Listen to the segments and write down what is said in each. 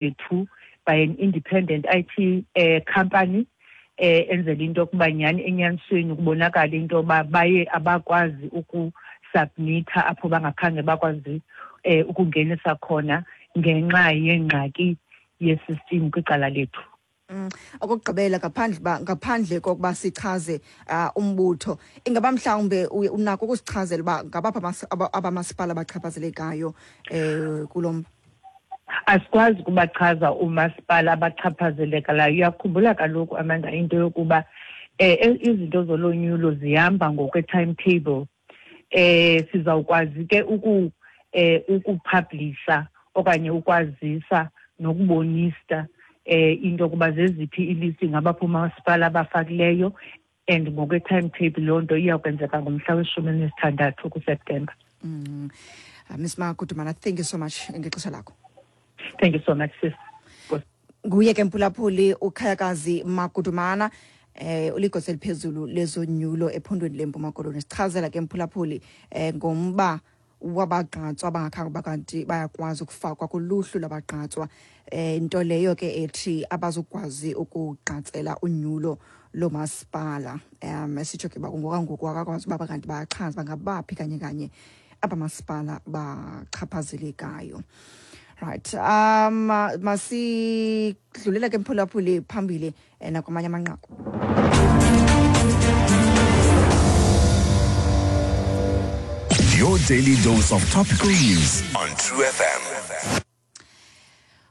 Yethu by an independent IT eh, company eh enzela into yokuba nyhani enyanisweni kubonakala into yoba baye abakwazi ukusubmitha apho bangakhange bakwazi eh ukungenisa khona ngenxa yengxaki yesystem kwicala lethu. Okokugqibela, ngaphandle ba ngaphandle kokuba sichaze umbutho, ingaba mhlawumbe unako ukusichazela uba ngabaphi abamasipala abachaphazelekayo kulo mba? Asikwazi ukubachaza umasipala abachaphazelekalayo. Uyakhumbula kaloku, Amanda, into yokuba izinto zolonyulo zihamba ngokwe-timetable. Sizawukwazi ke ukupublisha okanye ukwazisa nokubonisa into yokuba zeziphi ilisti ngabaphi umasipala abafakileyo, and ngokwe-timetable loo nto iyawukwenzeka ngomhla we-16 kuSeptemba. Miss Magudumana, thank you so much ngexesha lakho. Thank you so much, sis. Nguye ke, mphulaphuli, uKhayakazi Magudumana, uligosa eliphezulu lezonyulo ephondweni leMpuma Koloni. Sichazela ke, mphulaphuli, ngomba wabagqatswa abangakhange bakanti bayakwazi ukufakwa kuluhlu lwabagqatswa, nto leyo ke ethi abazukwazi ukugqatsela unyulo lomasipala. Esitsho ke uba ngokangoku akakwazi uba kanti bayachaza bangabaphi kanye kanye abamasipala bachaphazelekayo. Right, masidlulela ke, mphulaphuli, phambili nakwamanye amanqaku. Your daily dose of topical news on True FM.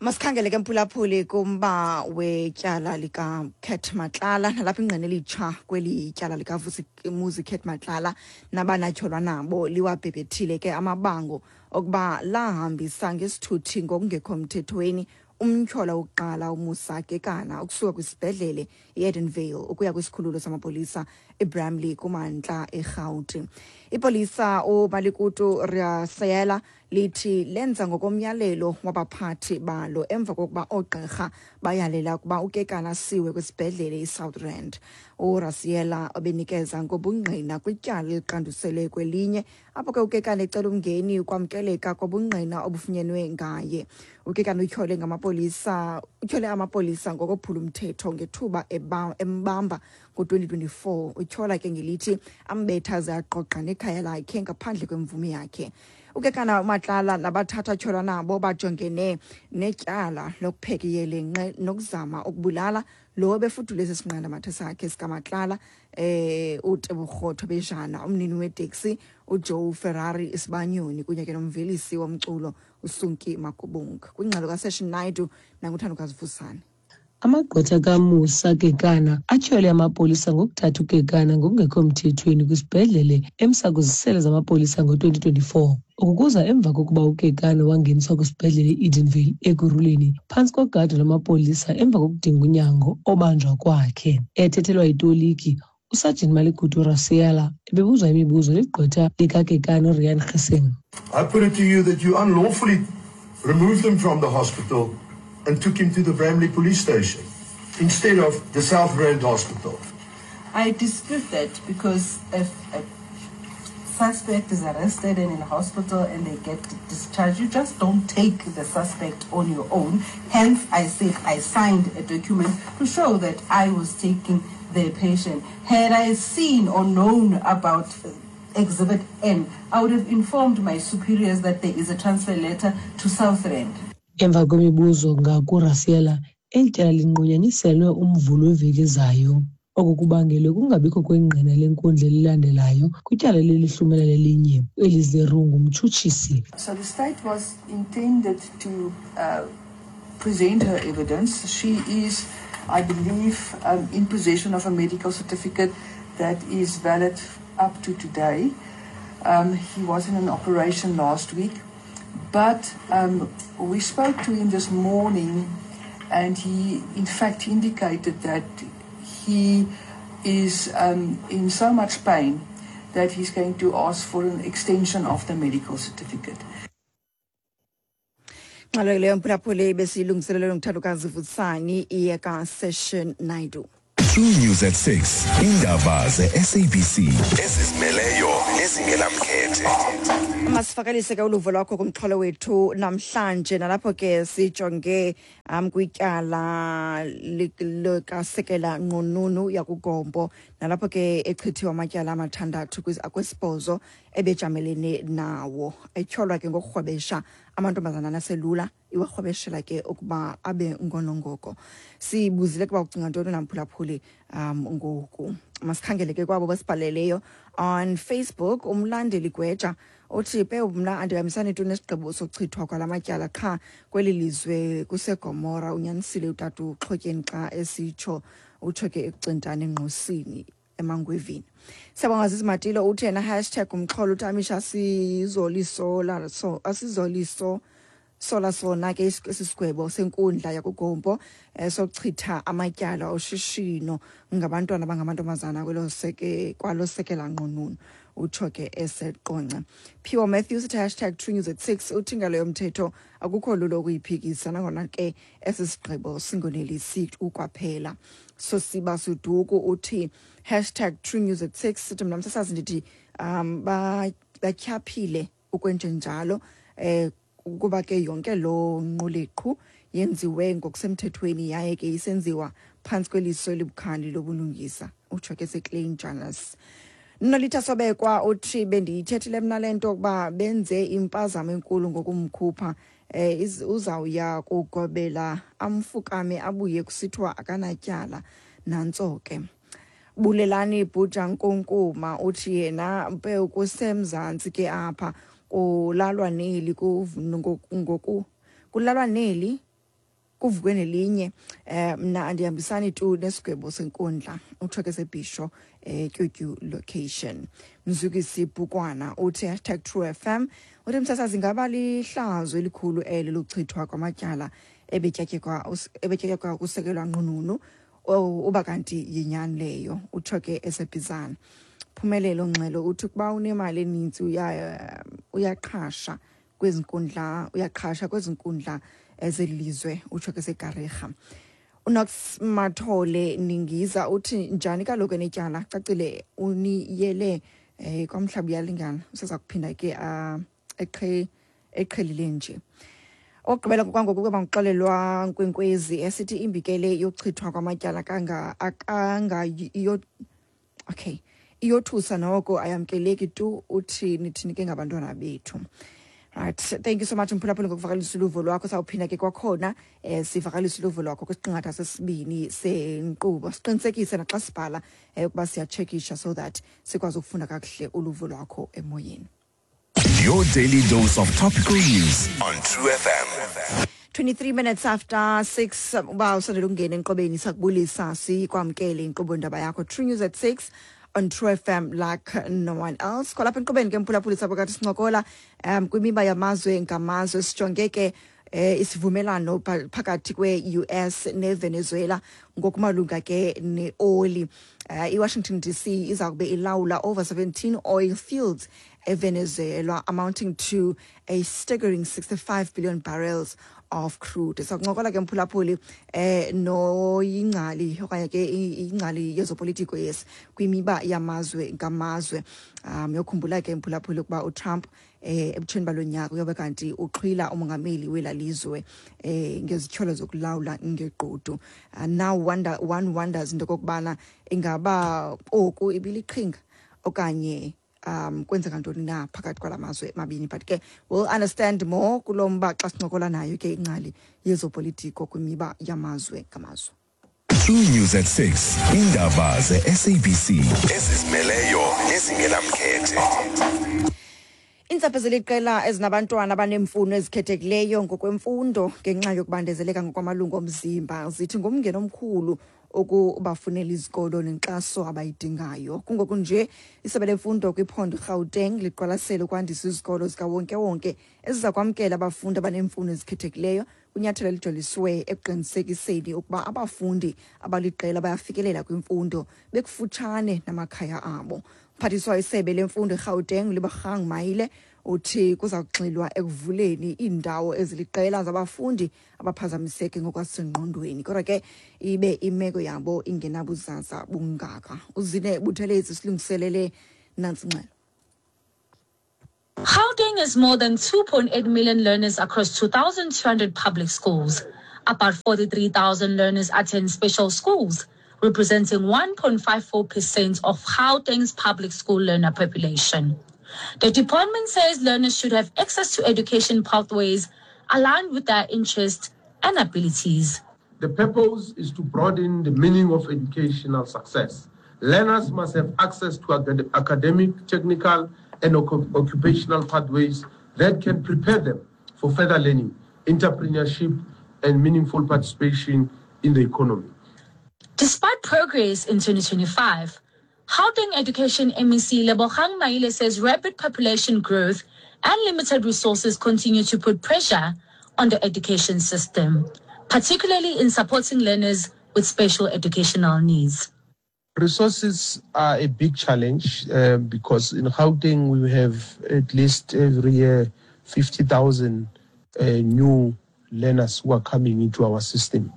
Masikhangele ke, mphulaphuli, kumba wetyala likaCat Matlala, nalapho ingqina elitsha kweli tyala likaVusimuzi Cat Matlala nabanatyholwa nabo liwabhebhethile ke amabango okuba lahambisa ngesithuthi ngokungekho mthethweni umtyholwa wokuqala uMusa Kekana ukusuka kwisibhedlele i-Edenvale ukuya kwisikhululo samapolisa eBramley kumantla eRhawuti. Ipolisa uMalikutu Riasayela lithi lenza ngokomyalelo wabaphathi balo emva kokuba oogqirha bayalela ukuba uKekana asiwe kwisibhedlele iSouth Rand. URasiela obenikeza ngobungqina kwityala eliqanduselwe kwelinye, apho ke uKekana ecela umngeni ukwamkeleka kobungqina obufunyenwe ngaye. UKekana utyhole amapolisa ngokophula umthetho ngethuba embamba ngo-2024. Utyhola ke ngelithi ambetha aze aqoqa nekhaya lakhe ngaphandle kwemvume yakhe. UKekana uMatlala nabathathu atyholwa nabo bajongene netyala lokupheka iyelenqe nokuzama ukubulala lo befudule esi sinqandamathe sakhe sikaMatlala, uTebogo Thobejane, umnini weteksi uJoe Ferrari Isibanyoni, kunye ke nomvelisi womculo uSunki Makubung. Kwingxelo kaSession Naidu nanguThandokazi Vusane. Amagqwetha kaMusa Kekana atyhole amapolisa ngokuthatha uKekana ngokungekho mthethweni kwisibhedlele emsa kwizisele zamapolisa ngo-2024. Oku kuza emva kokuba uKekana wangeniswa kwisibhedlele i-Edenvale Ekurhuleni phantsi kogado lwamapolisa emva kokudinga unyango obanjwa kwakhe. Ethethelwa yitoliki, uSajini Maligudu Rasiela ebebuzwa imibuzo ligqwetha likaKekana uRian Gissing. I put it to you that you unlawfully removed him from the hospital and took him to the Bramley police station instead of the South Rand Hospital. I dispute that because if a suspect is arrested and in hospital and they get discharged, you just don't take the suspect on your own. Hence, I said I signed a document to show that I was taking the patient. Had I seen or known about Exhibit N, I would have informed my superiors that there is a transfer letter to South Rand. Emva kwemibuzo ngakuRasiela, eli tyala linqunyanyiselwe uMvulo weveki ezayo. Oku kubangelwe kungabikho kwengqina lenkundla elilandelayo kwityala lelihlumela lelinye elizeru ngumtshutshisi. So the state was intended to present her evidence. She is, I believe, in possession of a medical certificate that is valid up to today. He was in an operation last week, but we spoke to him this morning, and he, in fact, indicated that he is in so much pain that he's going to ask for an extension of the medical certificate. Ngxelo leyo, mphulaphuli, besiyilungiselelwe nguThandokazi Vutsani, iyeka Session Naidu. True News at 6. Indaba ze-SABC ezizimeleyo nezingenamkhethe. Masivakalise ke uluvo lwakho kumxholo wethu namhlanje, nalapho ke sijonge kwityala likasekela nqununu yakuGompo, nalapho ke echithiwe amatyala amathandathu akwesibhozo ebejamelene nawo, etyholwa ke ngokurhwebesha amantombazana aselula, iwarhwebeshela ke ukuba abe ngonongoko. Sibuzile kuba ucinga ntoni namphulaphuli ngoku. Masikhangele ke kwabo basibhaleleyo on Facebook. Umlandeli Gweja uthi, "Pe, mna andihambisani tu nesigqibo sokuchithwa kwala matyala, qha kweli lizwe kuseGomora. Unyanisile utata uXhotyeni xa esitsho." Utsho ke ekucintane engqosini eMangwevini. Siyabonga. Zizimatilo uthi yena, #umxholo, utamisha asizolisola so asizoliso sola sona ke esi sigwebo senkundla yakuGompo sokuchitha amatyala oshishino ngabantwana abangamantombazana kwelo seke kwalo sekela nqununu. Utsho ke eseQonce. Phiwo Matthews uthi, #TrueNews at 6, uthi ingalo yomthetho akukho lulo ukuyiphikisa, nangona ke esi sigqibo singonelisi ukwaphela. Sosiba Suduku uthi, #TrueNews at 6, sithi, "Mna msasazi ndithi batyhaphile ukwenjenjalo, ukuba ke yonke lo nquleqhu yenziwe ngokusemthethweni yaye ke isenziwa phantsi kweliso elibukhali lobulungisa." Utsho ke seClean Journals. Nolitha Sobekwa uthi, "Bendiyithethile mna le nto ukuba benze impazamo enkulu ngokumkhupha. Uzawuya kugobela amfukame, abuye kusithiwa akanatyala." Nantso ke. Bulelani Bhuja Nkunkuma uthi yena, "Mpe, kuseMzantsi ke apha, kulalwa neli ngoku kulalwa neli kuvukwe nelinye. Mna andihambisani tu nesigwebo senkundla." Utsho ke sebhisho Tyutyu location. Mzukisi Bhukwana uthi, #TrueFM, uthi, "Msasazi, ngaba lihlazo elikhulu eli lokuchithwa kwamatyala ebetyatyekwa kusekelwa nqununu, uba kanti yinyani leyo." Utsho ke esebhizana. Phumelelo Ngxelo uthi, "Ukuba unemali eninzi uyaqhasha kwezi nkundla, uyaqhasha kwezi nkundla ezelizwe." Utsho ke seGarirha. UNox Mathole Ningiza uthi, "Njani kaloku enetyala? Cacile uniyele kwamhlaba uyalingana, useza kuphinda ke eqhelile nje." Okugqibela kwangoku kuba nguxolelwa Nkwenkwezi esithi, "Imbikele yokuchithwa kwamatyala kanga akanga iyo, okay, iyothusa noko, ayamkeleki tu. Uthi nithini ke ngabantwana bethu?" Right, thank you so much mphulaphuli ngokuvakalisa uluvo lwakho. Sawuphinda ke kwakhona sivakalise uluvo lwakho kwisiqingatha sesibini senkqubo. Siqinisekise naxa sibhala ukuba siyatshekisha so that sikwazi ukufunda kakuhle uluvo lwakho emoyeni. Your daily dose of topical news on True FM. 23 minutes after 6. Uba usandela ukungena enkqubeni, sakubulisa, sikwamkele inkqubo ndaba yakho, True News at 6 on True FM, like no one else. Kwalapha enkqubeni ke mphulaphuli, phakathi sincokola kwimiba yamazwe ngamazwe. Sijonge ke isivumelano phakathi kwe-US neVenezuela ngokumalunga ke neoli. IWashington DC iza kube ilawula over 17 oil fields eVenezuela, amounting to a staggering 65 billion barrels of crude. Sakuncokola ke mphulaphuli noyingcali okanye ke ingcali yezopolitiko, yes, kwimiba yamazwe ngamazwe. Yokhumbula ke mphulaphuli ukuba uTrump ebutsheni balo nyaka uyobe kanti uxhwila umongameli wela lizwe ngezityholo zokulawula ngegqudu. Now one wonders into okokubana ingaba oku ibiliqhinga okanye kwenzeka ntoni na phakathi kwala mazwe mabini, but ke we'll understand more kulo mba xa sincokola nayo ke ingcali yezopolitiko kwimiba yamazwe ngamazwe. True News at 6. Indaba ze-SABC ezizimeleyo nezingenamkhethe. Iintsapho zeliqela ezinabantwana abaneemfuno ezikhethekileyo ngokwemfundo ngenxa yokubandezeleka ngokwamalungu omzimba zithi ngumngeni omkhulu ukubafunela izikolo nenkxaso abayidingayo. Kungoku nje isebe lemfundo kwiphondo iGauteng liqwalasele ukwandisa izikolo zikawonkewonke eziza kwamkela abafundi abaneemfuno ezikhethekileyo, kwinyathelo elijoliswe ekuqinisekiseni ukuba abafundi abaliqela bayafikelela kwimfundo bekufutshane namakhaya abo. Mphathiswa isebe lemfundo eGauteng, Lebogang Maile, Uthi kuza kugxilwa ekuvuleni iindawo eziliqela zabafundi abaphazamiseke ngokwasengqondweni, kodwa ke ibe imeko yabo ingenabuzaza bungaka. Uzine Buthelezi silungiselele nantsi ingxelo. Gauteng has more than 2.8 million learners across 2,200 public schools. About 43,000 learners attend special schools, representing 1.54% of Gauteng's public school learner population. The department says learners should have access to education pathways aligned with their interests and abilities. The purpose is to broaden the meaning of educational success. Learners must have access to academic, technical, and occupational pathways that can prepare them for further learning, entrepreneurship, and meaningful participation in the economy. Despite progress in 2025, Gauteng Education MEC Lebogang Maile says rapid population growth and limited resources continue to put pressure on the education system, particularly in supporting learners with special educational needs. Resources are a big challenge because in Gauteng we have at least every year 50,000 new learners who are coming into our system,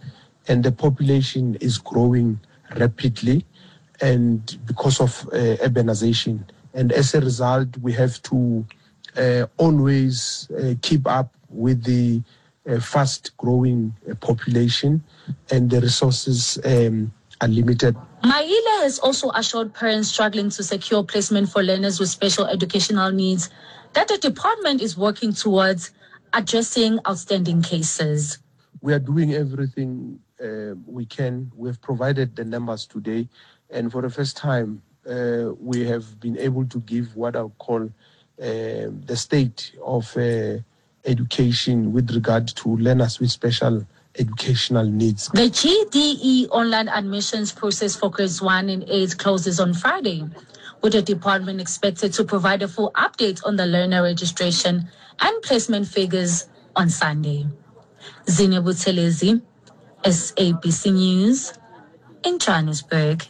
and the population is growing rapidly, and because of urbanization. And as a result, we have to always keep up with the fast-growing population, and the resources are limited. Maile has also assured parents struggling to secure placement for learners with special educational needs that the department is working towards addressing outstanding cases. We are doing everything we can. We have provided the numbers today, and for the first time, we have been able to give what I call the state of education with regard to learners with special educational needs. The GDE online admissions process for grades 1 and 8 closes on Friday, with the department expected to provide a full update on the learner registration and placement figures on Sunday. Zine Buthelezi, SABC News, in Johannesburg.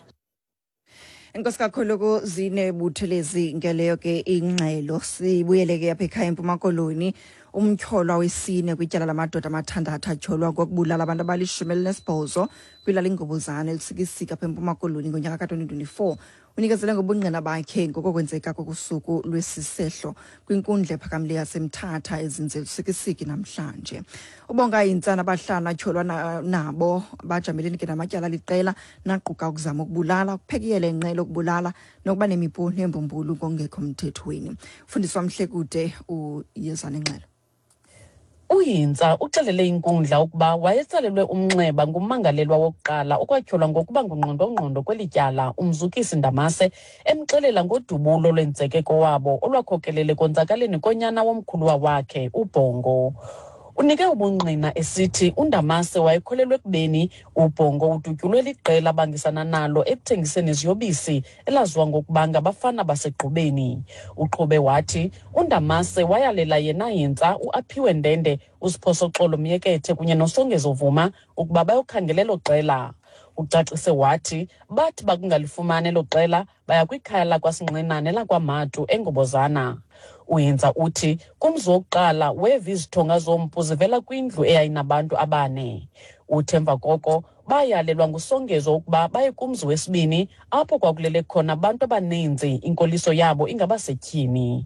Enkosi kakhulu kuZine Buthelezi ngeleyo ke ingxelo. Sibuyele ke apha ekhaya eMpuma Koloni. Umtyholwa wesine kwityala lamadoda amathandathu atyholwa ngokubulala abantu abali-18 kwilali iNgobozana eLusikisiki apha eMpuma Koloni ngonyaka ka-2024 unikezele ngobungqina bakhe ngokokwenzeka kokusuku lwesisehlo kwinkundla ephakamileyo yaseMthatha ezinze Lusikisiki namhlanje. Ubonga intsana abahlanu atyholwa nabo bajamelene ke namatyala aliqela naquka ukuzama ukubulala, ukuphekiyela inqe lokubulala nokuba nemipu nembumbulu ngokungekho mthethweni. Fundiswa Mhlekude uyeza nengxelo. UHintsa uxelele inkundla ukuba wayetsalelwe umnxeba ngummangalelwa wokuqala okwatyholwa ngokuba ngungqondongqondo kweli tyala, uMzukisi Ndamase, emxelela ngodubulo lwenzeke kowabo olwakhokelele konzakaleni konyana womkhuluwa wakhe, uBhongo. Unike ubungqina esithi uNdamase wayekholelwa ekubeni uBhongo udutyulwe liqela abangisana nalo ekuthengiseni iziyobisi elaziwa ngokuba ngabafana basegqubeni. Uqhube wathi uNdamase wayalela yena Hintsa, uAphiwe Ndende, uSiphosoxolo Myekethe kunye noSongezo Vuma ukuba bayokhangela elo qela. Ucacise wathi bathi bakungalifumani elo qela baya kwikhaya lakwaSinqinane lakwaMatu eNgobozana. UHintsa uthi kumzi wokuqala weva izithonga zompu zivela kwindlu eyayinabantu abane. Uthi emva koko bayalelwa nguSongezo ukuba baye kumzi wesibini apho kwakulele khona abantu abaninzi, inkoliso yabo ingabasetyhini.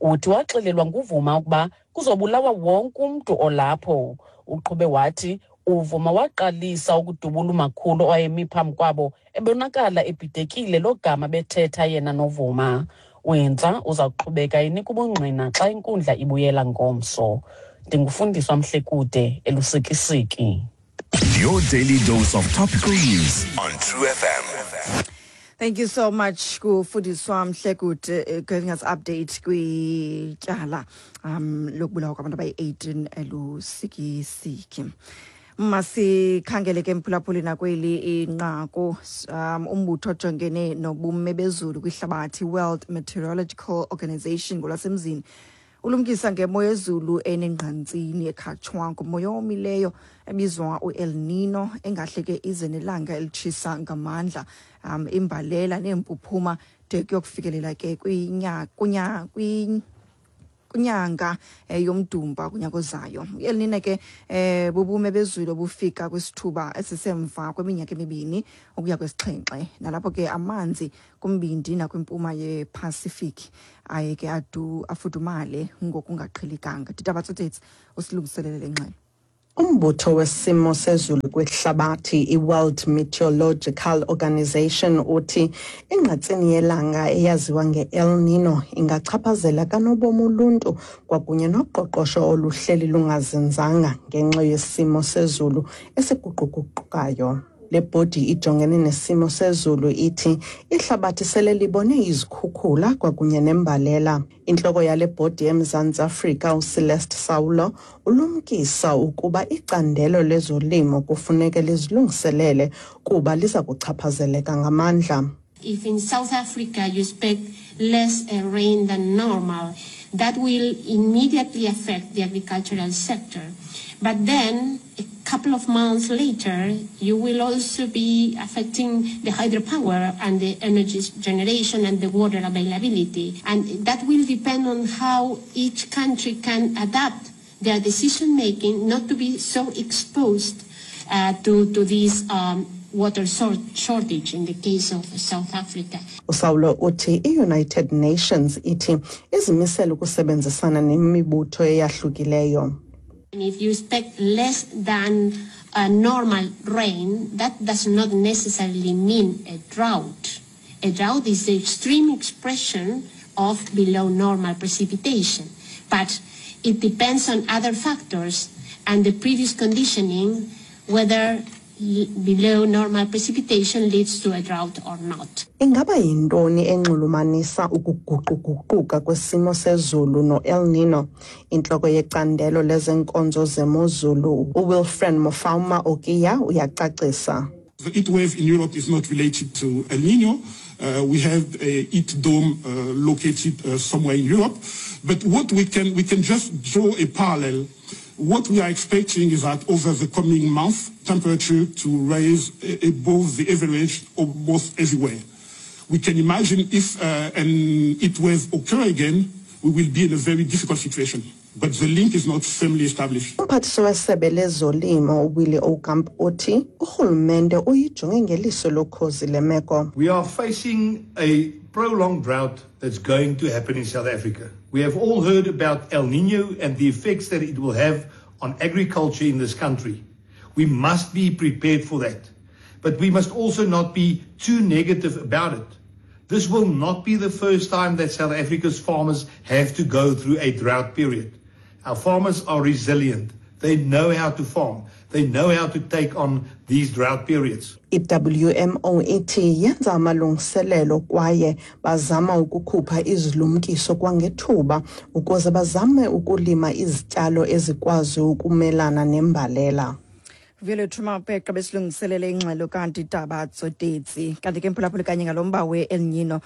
Uthi waxelelwa nguVuma ukuba kuzobulawa wonke umntu olapho. Uqhube wathi uVuma waqalisa ukudubula umakhulu owayemi phambi kwabo ebonakala ebhidekile logama bethetha yena noVuma. UHintsa uza kuqhubeka enika ubungqina xa inkundla ibuyela ngomso. Ndingufundiswa Mhlekude eLusikisiki. Your daily dose of topical news on True FM. Thank you so much kufundiswa Mhlekude giving us update kwityala lokubulawa kwabantu abayi-18 eLusikisiki. Masikhangele ke mphulaphuli nakweli inqaku. Umbutho ojongene nobume bezulu kwihlabathi, World Meteorological Organization ngolwasemzini, ulumkisa ngemo yezulu enengqantsini ekhatshwa ngumoya owomileyo ebizwa uEl Nino engahle ke ize nelanga elitshisa ngamandla, imbalela neempuphuma de kuyokufikelela ke kwinyanga yoMdumba kunyaka ozayo. El Nino ke bubume bezulu obufika kwisithuba esisemva kweminyaka emibini ukuya kwesixhenxe, nalapho ke amanzi kumbindi nakwimpuma yePacific aye ke adu afudumale ngokungaqhelikanga. Ditaba Tsotetsi usilungiselele le ngxelo. Umbutho wesimo sezulu kwihlabathi iWorld Meteorological Organization uthi ingqatsini yelanga eyaziwa nge-El Nino ingachaphazela kanobom uluntu kwakunye noqoqosho oluhleli lungazinzanga ngenxa yesimo sezulu esiguquguqukayo. Le bhodi ijongene nesimo sezulu ithi ihlabathi sele libone izikhukhula kwakunye nembalela. Intloko yale bhodi eMzantsi Afrika uCeleste Saulo ulumkisa ukuba icandelo lezolimo kufuneke lizilungiselele kuba liza kuchaphazeleka ngamandla. If in South Africa you expect less rain than normal, that will immediately affect the agricultural sector. But then, a couple of months later, you will also be affecting the hydropower and the energy generation and the water availability. And that will depend on how each country can adapt their decision making not to be so exposed to this water shortage in the case of South Africa. USaulo uthi i-United Nations ithi izimisele ukusebenzisana nemibutho eyahlukileyo. And if you expect less than a normal rain, that does not necessarily mean a drought. A drought is the extreme expression of below normal precipitation, but it depends on other factors and the previous conditioning, whether below normal precipitation leads to a drought or not. Ingaba yintoni enxulumanisa ukuguquguquka kwesimo sezulu no-El Nino? Intloko yecandelo lezenkonzo zemozulu uWilfred Mofama Okiya uyacacisa. The heat wave in Europe is not related to El Nino. We have a heat dome located somewhere in Europe. But what we can just draw a parallel. What we are expecting is that over the coming month, temperature to rise above the average almost everywhere. We can imagine if an heat wave occur again, we will be in a very difficult situation. But the link is not firmly established. Umphathiswa wesebe lezolimo uWillie Aucamp uthi urhulumente uyijonge ngeliso lokhozi le meko. We are facing a prolonged drought that's going to happen in South Africa. We have all heard about El Nino and the effects that it will have on agriculture in this country. We must be prepared for that. But we must also not be too negative about it. This will not be the first time that South Africa's farmers have to go through a drought period. Our farmers are resilient. They know how to farm. They know how to take on these drought periods. I-WMO ithi yenza amalungiselelo kwaye bazama ukukhupha izilumkiso kwangethuba ukuze bazame ukulima izityalo ezikwazi ukumelana nembalela. Vuyolwethu Mapheqa besilungiselele ingxelo kanti Taba Tsotetsi. Kanti ke mphulaphuli kanye ngalo mba we-El Nino,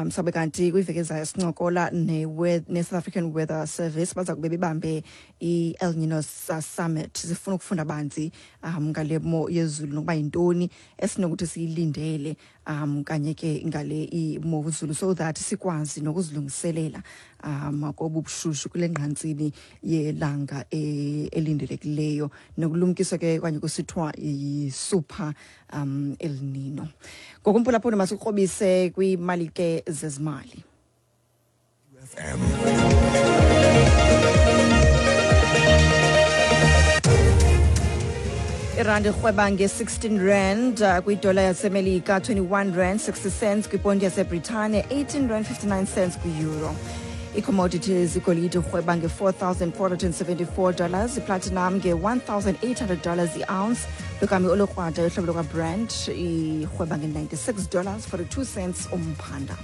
sabe kanti kwiveki ezayo sincokola ne-South African Weather Service, baza kube bebambe i-El Nino Summit. Sifuna ukufunda banzi ngale mo yezulu nokuba yintoni esinokuthi siyilindele kanye ke ngale imozulu, so that sikwazi nokuzilungiselela kobu bushushu kule ngqantsini yelanga elindelekileyo, nokulumkiswa ke kanye kusithiwa yi-super El Nino. Ngokumphulaphula masikrobise kwimali ke zezimali. Irandi irhweba nge-16 rand kwidola yaseMelika, 21 rand 60 cents kwiponti yaseBritane, 18 rand 59 cents kwi-euro. I-commodities, igolide irhweba nge-$4,474, iplatinum nge-$1,800 i-ounce, logama olukrwada yohlobo lukaBrent irhweba nge-$96.42 umphanda.